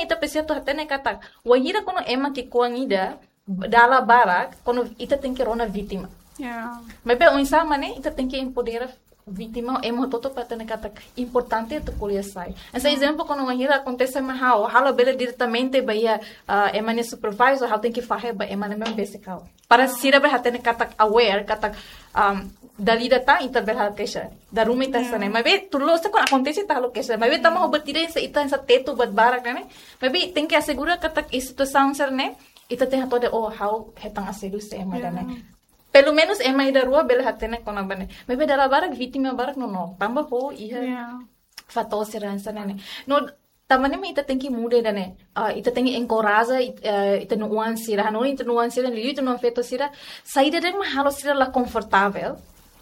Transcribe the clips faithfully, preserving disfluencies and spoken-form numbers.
Ita presiza atu hatene katak, wainhira kuandu ema ki'ikoan ida dala barak, kuandu ita tenke rona vítima. Ya. Maibé oinsá mak ne'e, ita tenke empodera vítima, ema hotu-hotu para hatene katak importante atu ko'alia sai. Hanesan ezemplu, kuandu wainhira akontese mai ha'u, ha'u labele diretamente ba iha, ah, ema nia supervisor, ha'u tenke fahe ba ema ne'ebé besik ha'u. Para sira bele hatene katak aware, katak, um, dala ida tan ita bele halo keixa. Dala ruma ita hanesan ne'e. Maibé tuir loos kuandu akontese ita halo keixa. Maibé tanba ha'u buat ida hanesan ita hanesan tetu buat barak ne'e. Maibé tenke asegura katak iha situasaun sira-ne'e, ita tenke hatene, oh, ha'u hetan asédiu se ema ida-ne'e. Pelumenus ema ida rua bele hatene kona-ba ne'e. Maibé dala barak vítima barak nonook. Tanba ho iha fatór sira hanesan ne'e. No, tanba ne'e mak ita tenke muda ida-ne'e. Ah, ita tenke enkoraja it-, eh, ita-nia oan sira. Hanoin ita-nia oan sira, liuliu ita-nia oan feto sira. Saida de'it mak halo sira la konfortavel,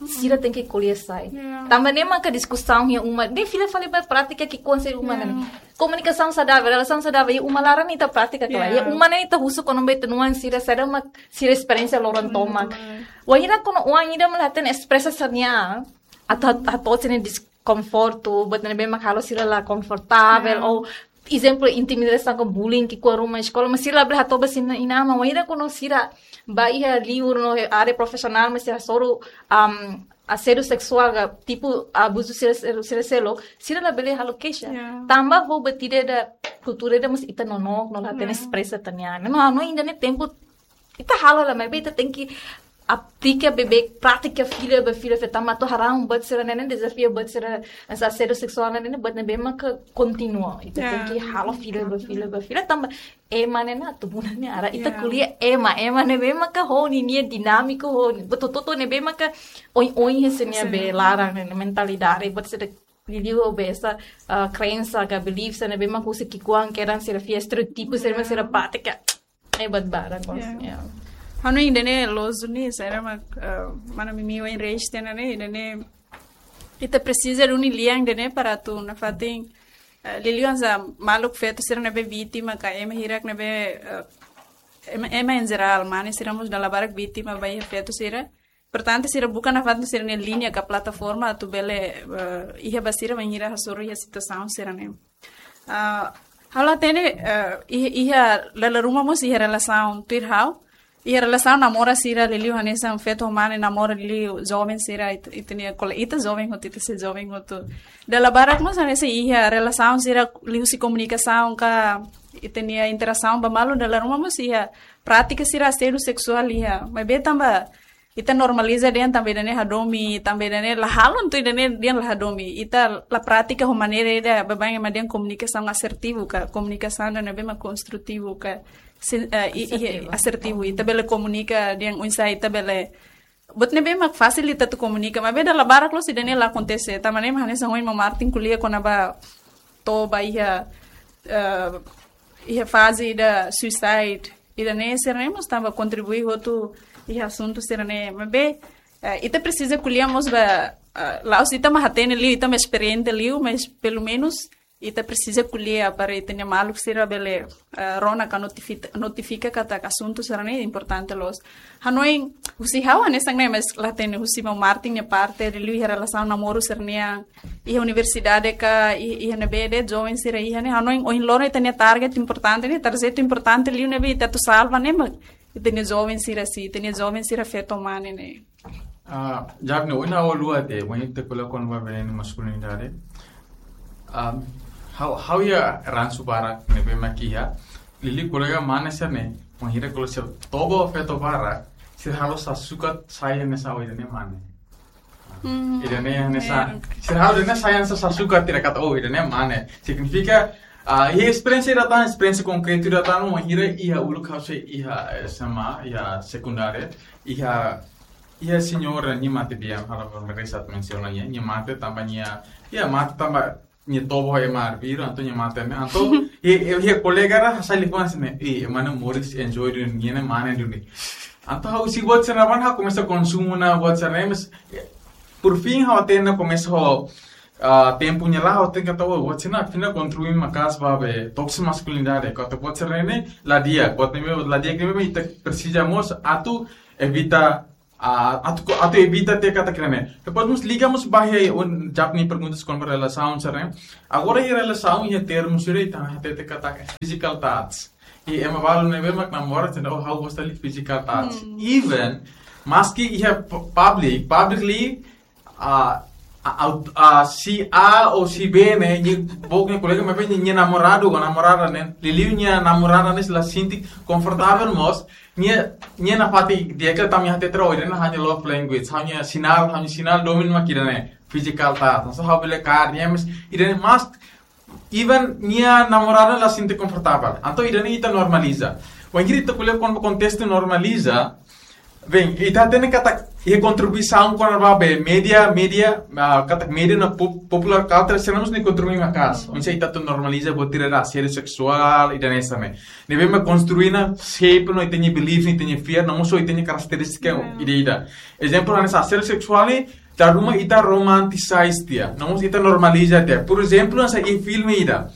sira tenke ko'alia sai. Ya. Tanba ne'e maka diskusaun iha uma, ne'e fila fali ba prátika ki'ikoan sira iha uma ne'e. Komunikasaun saudavel, relasaun saudavel, iha uma laran ita prátika kala. Ya. Iha uma ne'e ita husu kona-ba ita-nia oan sira, saida mak sira esperiénsia loron tomak. Wainhira kuandu oan ida mak la hatene espresa sira-nia an, atu hat-, hato'o sira-nia deskonfortu, buat ne'ebé mak halo sira la konfortavel, ou ezemplu, intimidasaun ka bullying ki'ikoan ruma eskola, mas sira labele hato'o ba sira-nia inan-aman, wainhira kuandu sira bá iha liur no área profisionál, mas sira hasoru, am, asédiu seksuál ka tipu abuzu sira, sira, sira seluk, sira labele halo keixa. Ya. Tanba ho buat ida, kultura ida mós ita nonook, no la hatene espresa ita-nia an. No, no, ida-ne'e tempu ita halo hela, maibé ita tenke aplika beibeik, prátika fila ba fila, fe tama to harang buat sira-ne'e ne'e, dezafia buat sira, hanesan asédiu seksuál ne'e ne'e, buat ne'ebé maka kontinua. Ita tenke halo fila ba fila ba fila, tanba ema ne'e ne'e atu buat ne'e ara. Ita ko'alia ema, ema ne'ebé maka ho ninia dinámika, ho buat hotu-hotu ne'ebé maka oin-oin hanesan ne'e, be laran ne'e, mentalidade, buat sira liuliu be hanesan, ah, krensa ka belief sira ne'ebé maka husi ki'ikoan kedan sira fiar, estereótipu sira, sira prátika. Ne'e buat barak, ya. Hanoin ida-ne'e loos duni, sira mak, eh, mana Mimi ohin raise tiha ona ne'e, ida-ne'e ita presiza duni lian ida-ne'e para atu nafatin, eh, liuliu hanesan maluk feto sira ne'ebé vítima ka ema hirak ne'ebé, eh, ema, ema em geral, mane sira mós dala barak vítima ba iha feto sira. Importante sira buka nafatin sira-nia liña ka plataforma atu bele, eh, iha ba sira bainhira hasoru iha situasaun sira-ne'e. Ah, ha'u la hatene, eh, iha, iha dala ruma mós iha relasaun tuir ha'u. Iha relasaun namora sira liuliu hanesan feto mane namora liuliu joven sira it-, ita-nia kole-, ita joven hotu, ita sei joven hotu. Dala barak mós hanesan iha relasaun sira liuhusi komunikasaun ka ita-nia interasaun ba malu, dala ruma mós iha prátika sira asédiu seksuál iha. Maibé tanba ita normaliza dehan tanba ida-ne'e hadomi, tanba ida-ne'e la halo, entaun ida-ne'e dehan la hadomi. Ita la prátika ho maneira ida, baibain ema dehan komunikasaun asertivu ka, komunikasaun ida ne'ebé mak konstrutivu ka, sen-, eh, i-, i-, asertivu. Asertivu. Ita bele komunika dehan oinsá ita bele, buat ne'ebé mak fasil ita atu komunika, maibé dala barak loos ida-ne'e la akontese. Tanba ne'e mak hanesan ohin maun Martin ko'alia kona-ba to'o ba iha, eh, iha faze ida suicide. Ida-ne'e sira-ne'e mós tanba kontribui hotu iha asuntu sira-ne'e. Maibé, eh, ita presiza ko'alia mós ba, eh, la'ós ita mak hatene liu, ita mak esperiente liu, mas pelumenus ita presiza ko'alia para ita-nia maluk sira bele, eh, rona ka notifi-, notifika katak asuntu sira-ne'e importante loos. Hanoin husi ha'u hanesan ne'e, mas la hatene husi maun Martin nia parte, liuliu iha relasaun namora sira-nian, iha universidade ka, i-, iha ne'ebé de'it joven sira iha ne'e, hanoin ohin loron ita-nia target importante ne'e, target importante liu ne'ebé ita atu salva ne'e mak ita-nia joven sira si, ita-nia joven sira feto mane ne'e. Ah, Jabne, ohin ha'u haluha tiha, ohin ita ko'alia kona-ba venenu maskulinidade. Ah, ha'u, ha'u iha ransu barak ne'ebé mak iha, liuliu kolega mane sira-ne'e, wainhira kolega sira toba feto barak, sira halo sasukat sai hanesan ha'u ida-ne'e mane. Hmm. Ida-ne'e hanesan, ya, sira halo ida-ne'e sai hanesan sasukat, sira katak, oh, ida-ne'e mane. Signifika, ah, iha esperiénsia ida tan, esperiénsia konkretu ida tan, wainhira iha uluk ha'u sei iha S M A, iha sekundária, iha, iha señora nia mate di'ak, ha'u la merese atu mensiona nia, nia mate tanba nia, ya, mate tanba nia toba ho ema arbiru, entaun nia mate ne'e, entaun, i, i, i kolega ida hasai liafuan hanesan ne'e, i, ema ne'e moris enjoy duni, nia ne'e mane duni. Entaun ha'u husi buat sira-ne'ebá ha'u komesa konsumu ona buat sira-ne'e, mas, eh, por fim ha'u hatene komesa ho, ah, tempu nia la'o, ha'u hatene katak, oh, buat sira-ne'e afinál kontribui maka'as ba be tóksiku maskulinidade, katak buat sira-ne'e la di'ak, buat ne'ebé la di'ak ne'ebé ita presiza mós atu evita Ah, atu, atu evita tiha katak ida-ne'e. Depois mós liga mós ba iha, un, japni perguntas kona-ba relasaun sira-ne'e. Agora iha relasaun iha termu sira ita hatete katak physical touch. I ema balu ne'ebé mak namora sira, oh, ha'u gosta liu physical touch. Hmm. Even, maski iha pu-, public, publicly, ah, ah, aut-, ah, si A ou si B ne'e, nia, book nia kolega, maibé nia, nia namoradu ou namorada ne'e, liuliu nia namorada ne'e sei la sente konfortavel mós, nia, nia nafatin di'ak liu tanba nia hatete, oh, ida-ne'e ha'u-nia love language, ha'u-nia sinál, ha'u-nia sinál domin mak ida-ne'e, physical touch. Entaun ha'u bele kaer nia, mas ida-ne'e mas even nia namorada la sente konfortavel. Entaun ida-ne'e ita normaliza. Wainhira ita ko'alia kona-ba kontestu normaliza, bem, ita hatene katak iha kontribuisaun kona-ba be média, média, ah, katak média no pop-, popular culture sira mós nia kontribui maka'as. Hmm. Oinsá ita atu normaliza buat sira, asédiu seksuál, ida-ne'e hanesan ne'e. Ne'ebé mak konstrui ona shape ona ita-nia belief, ita-nia fear, no mós ita-nia karakterístika, hmm, ida-idak. Ezemplu, hanesan asédiu seksuál ne'e, dala ruma ita romanticized tiha, no mós ita normaliza tiha. Por ezemplu, hanesan iha filme ida.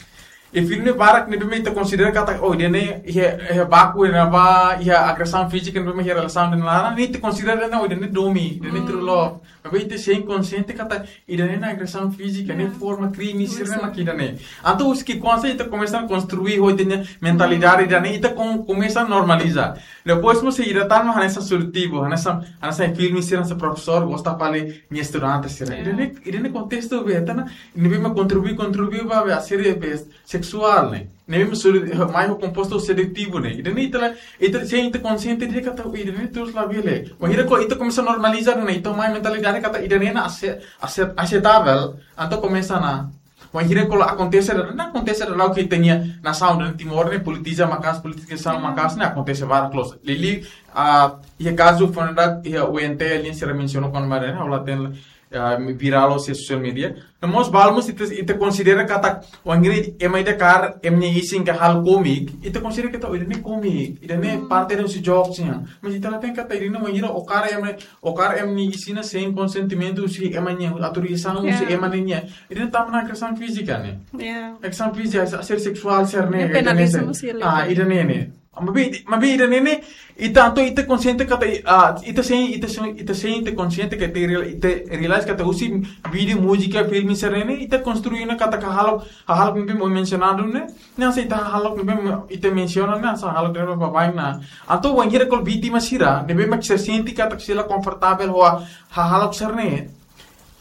Iha filme barak ne'ebé mak ita konsidera katak, oh, ida-ne'e iha, iha baku, iha ne'ebá, iha agresaun fízika ne'ebé mak iha relasaun ida-ne'e laran, ne'e ita konsidera ne'e, oh, ida-ne'e domin, ida-ne'e, hmm, true love. Maibé ita sei konsente katak ida-ne'e ne'e agresaun fízika, ne'e, ya, forma krime, sira-ne'e, ya, mak ida-ne'e. Entaun, husi ki'ikoan ita komesa konstrui ho ita-nia mentalidade, hmm, ida-ne'e, ita kom-, komesa normaliza. Depois mós sei ida tan mak hanesan seletivu, hanesan, hanesan filme sira, hanesan profesór gosta fali nia estudante sira. Ya. Ida-ne'e, ida-ne'e kontestu be, ita ne'e, ne'ebé mak kontribui, kontribui ba be asédiu be seksuál ne'e. Ne'ebé mak sele-, mai ho kompostu seletivu ne'e. Ida-ne'e ita la, ita sei ita konsente dehan katak, oh, ida-ne'e terus labele. Wainhira kona-ba ita komesa normaliza ne'e, ita mai mentalidade katak ida-ne'e ne'e ase-, ase-, aseitavel, entaun komesa ona. Wainhira kona-ba akontese, ne'e akontese dala ruma iha ita-nia nasaun, iha Timor ne'e politiza maka'as, politizasaun, hmm, maka'as ne'e akontese barak loos. Liuliu, ah, iha kazu foin-sa'e iha U N T, alin sira mensiona kona-ba ne'e, ha'u la hatene, ah, virál iha social media. No mós balu mós ita, ita konsidera katak, wainhira ema ida kaer ema nia isin ka halo kómiku, ita konsidera katak, oh, ida-ne'e kómiku, ida-ne'e, hmm, parte husi jokes nian. Mas ita la hatene katak ida-ne'e wainhira ó kaer ema, ó kaer ema nia isin ne'e sein konsentimentu husi ema nia, autorizasaun husi, ya, ema nian. Ida-ne'e tama ona agresaun fízika ne'e. Ya. Agresaun fízika, asédiu seksuál sira-ne'e, ne'e ida-ne'e penaliza sira-ne'e. Mós ida. Ah, ida-ne'e ne'e. Maibé, maibé ida-ne'e ne'e, ita entaun ita konsente katak, ah, ita sei, ita sei, ita sei, ita konsente katak ita real-, ita realize katak husi vídeo, múzika, filme sira-ne'e, ita konstrui ona katak hahalok, hahalok ne'ebé mak mensionadu ne'e, ne'e hanesan ita hahalok ne'ebé mak ita mensiona ne'e, hanesan hahalok ne'ebé mak baibain ona. Entaun wainhira kona-ba vítima sira, ne'ebé mak sira sente katak sira la konfortavel ho hahalok sira-ne'e,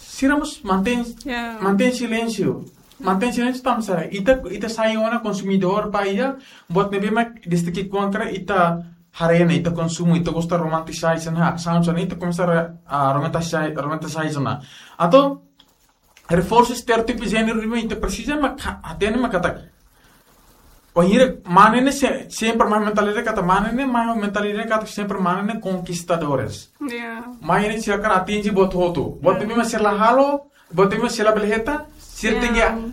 sira mós mantein, ya, mantein silénsiu. Mantein silénsiu tanba sá? Ita, ita sai ona konsumidór ba iha buat ne'ebé mak desde ki'ikoan karik ita haree ona, ita konsumu, ita gosta romanticize ona, sound ona, ita komesa, ah, romanticize, romanticize ona. Entaun, reforsu estereótipu jéneru ne'ebé ita presiza, mak ha-, hatene mak katak. Wainhira mane ne'e se-, sempre mai mentalidade katak mane ne'e, mai mentalidade katak sempre mane ne'e konkistadores. Ya. Mane ne'e sira hakarak atinje buat hotu. Buat, ya, ne'ebé mak sira la halo, buat ne'ebé mak sira la bele hetan, sira, ya, tenke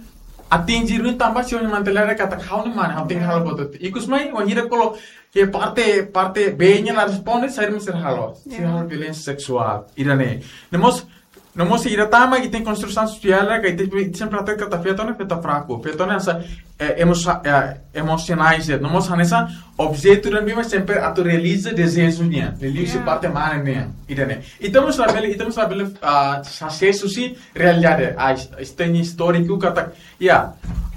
atinje duni tanba sira-nia mentalidade katak ha'u ne'e mane, ha'u tenke, ya, halo buat hotu. Ikus mai, wainhira kona-ba iha parte, parte B nian la responde, saida mak sira halo. Sira, ya, halo violénsia seksuál. Ida-ne'e. No mós, no mós ida tan mak ita-nia konstrusaun sosiál, ka ita, ita sempre hatete katak feto ne'e feto fraku. Feto ne'e hanesan, eh, emosa-, eh, emosionais, no mós hanesan objetu ida ne'ebé mak sempre atu realiza dezeju nian. Liuliu husi, ya, parte mane nian. Ida-ne'e. Ita mós labele, ita mós labele, ah, hasees husi realidade. Ah, is-, ita-nia istóriku katak, ya.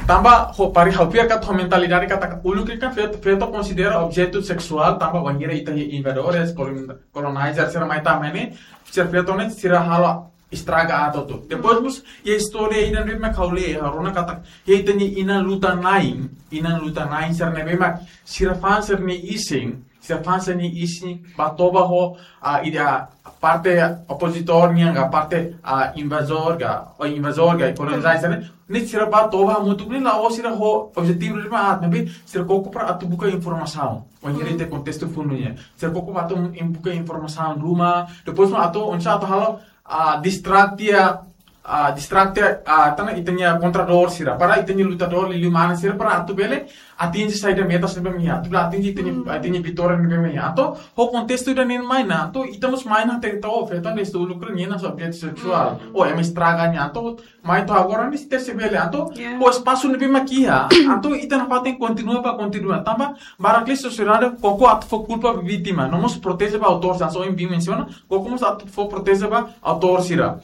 Tanba ho pari ha'u fiar katak ho mentalidade katak uluk ne'e kan feto, feto konsidera objetu seksuál tanba wainhira ita iha invadores, kolon-, colonizer sira mai tama ne'e, sira feto ne'e sira halo estraga aat hotu. Depois mós iha istória ida ne'ebé mak ha'u lee, ha'u rona katak iha ita-nia inan lutan-na'in, inan lutan-na'in sira ne'ebé mak sira fa'an sira-nia isin, sira fa'an sira-nia isin ba toba ho, ah, ida parte opozitór nian ka parte, ah, invazór ka, ou invazór ka, kolonizadór sira-ne'e, ne'e sira ba toba hamutuk ne'e la'ós sira ho objetivu ne'ebé mak aat, maibé sira koko para atu buka informasaun. Wainhira, hmm, ita kontestu fundu nian. Sira koko ba atu buka informasaun ruma, depois mak atu, oinsá atu halo, ah, distract tiha ah, distrakte, ah, tan ita-nia kontradór sira, para ita-nia lutadór liuliu mana sira para atu bele atinje saida metas ne'ebé mak iha, atu bele atinje ita-nia, ita-nia vitória ne'ebé mak iha. Entaun ho kontestu ida-ne'e mai ona, entaun ita mós mai ona até ita ofe, entaun desde lukru nia ona objetu seksuál, ou ema estraga nia, entaun mai to'o agora ne'e ita sei bele, entaun ho espasu ne'ebé mak iha, entaun ita nafatin kontinua ba, kontinua. Tanba barak liu sosiedade koko atu fó kulpa ba vítima, no mós proteje ba autór, hanesan ohin Bin mensiona, koko mós atu fó proteje ba autór sira.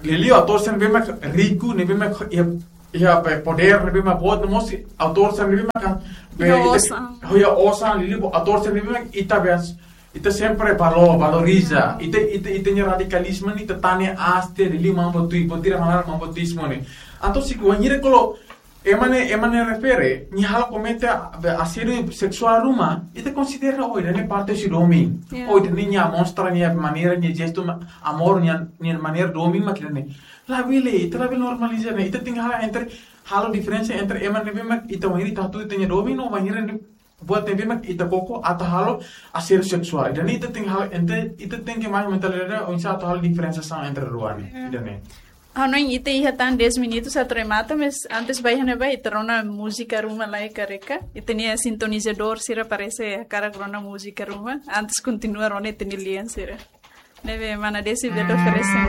Liuliu autór sira ne'ebé mak riku, ne'ebé mak iha, iha podér, ne'ebé mak boot, no mós autór sira ne'ebé mak, be, iha osan, liuliu autór sira ne'ebé mak ita bes, ita sempre valo-, valoriza, ita, ita, ita-nia radikalizmu ne'e ita tane aste, liuliu Mambo Tuir, buat ida mak naran Mambo Tuir sira ne'e. Entaun se bainhira kolo ema ne'e, ema ne'e refere, nia halo komete, be, asédiu seksuál ruma, ita konsidera, oh, ida-ne'e parte husi domin. Ou ida-ne'e nia mostra nia maneira, nia jestu amór, nia, nia maneira domin mak ida-ne'e. Labele, ita labele normaliza ne'e. Ita tenke halo entre, halo diferensa entre ema ne'ebé mak ita bainhira ita hatudu ita-nia domin, no bainhira ne'e buat ne'ebé mak ita koko atu halo asédiu seksuál. Ida-ne'e ita tenke halo entre, ita tenke mai mentalidade oinsá atu halo diferensiasaun entre rua ne'e. Ida-ne'e. Ha'u hanoin ita iha tan dez minutos atu remata, mas antes ba iha ne'ebá ita rona múzika ruma lai karik. Ita-nia sintonizadór sira parese hakarak rona múzika ruma. Antes kontinua rona ita-nia lian sira. Ne'ebé mana Desi bele oferese